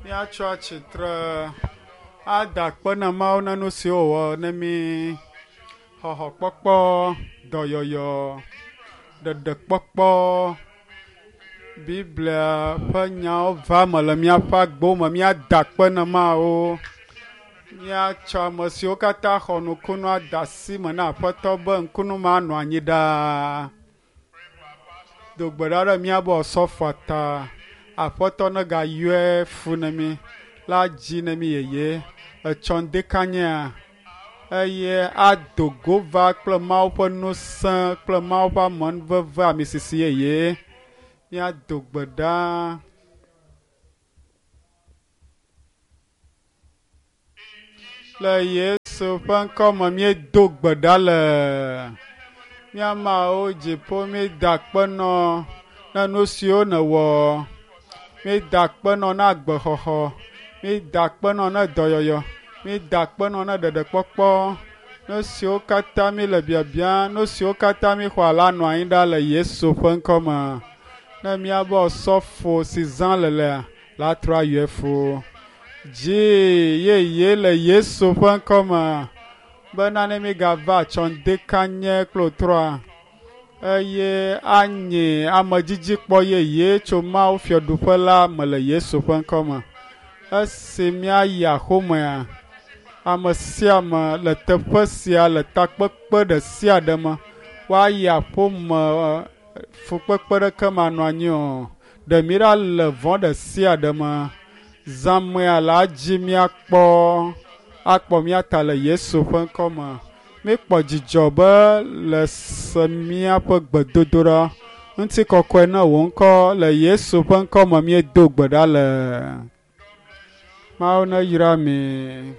Míatsɔ atsitre ada akpe na Mawu na nu siwo wòwɔ ne mí. Xɔxɔkpɔkpɔ, dɔyɔyɔ, ɖeɖekpɔkpɔ, Biblia ƒe nyawo va eme le míaƒe agbewo me. Míada akpe na Mawu. Míatsɔ ame siwo katã xɔ nukunu ade asi me na Aƒetɔ be ŋkunu ma nɔ anyi ɖaa. Do gbe ɖa ɖe míabe osɔfoa ta. Aƒetɔ negayɔe fu ne mí la dzi ne mí yeye. Etsɔ ŋdekanyea eye ado go va kple Mawu ƒe ŋusẽ kple Mawu ƒe amenuveve amisisi yeye. Míado gbe ɖa. Le Yesu ƒe ŋkɔ me míedo gbe ɖa le mía Mawu dziƒo míeda akpe nɔ na nu siwo nèwɔ. Míeda akpe nɔ na agbexɔxɔ. Míeda akpe nɔ na dɔyɔyɔ. Míeda akpe nɔ na ɖeɖekpɔkpɔ. Nu siwo katã míele biabiam, nu siwo katã míexɔ la nɔ anyi ɖa le Yesu ƒe ŋkɔ me. Ne míabe osɔfo si zã le lea, la trɔ ayɔe fo. Dzi yeye le Yesu ƒe ŋkɔ me bena ne mígava atsɔ ŋdekanye kple wòtrɔa eye anye amedzidzikpɔ yeye tso Mawu fiaɖuƒe la me le Yesu ƒe ŋkɔ me. Esi míayi axomea, ame sia ame le teƒe sia le takpekpe ɖe sia ɖe me, woayi aƒome fukpekpe ɖeke manɔ anyi o. Ɖe mí ɖa le vɔ̃ ɖe sia ɖe me. Zãmea la dzi míakpɔ akpɔ mía ta le Yesu ƒe ŋkɔ me. Míekpɔ dzidzɔ be le se míaƒe gbedodoɖa. Ŋutikɔkɔe ne wò ŋkɔ le Yesu ƒe ŋkɔ me míedo gbe ɖa le. Mawu neyra mi.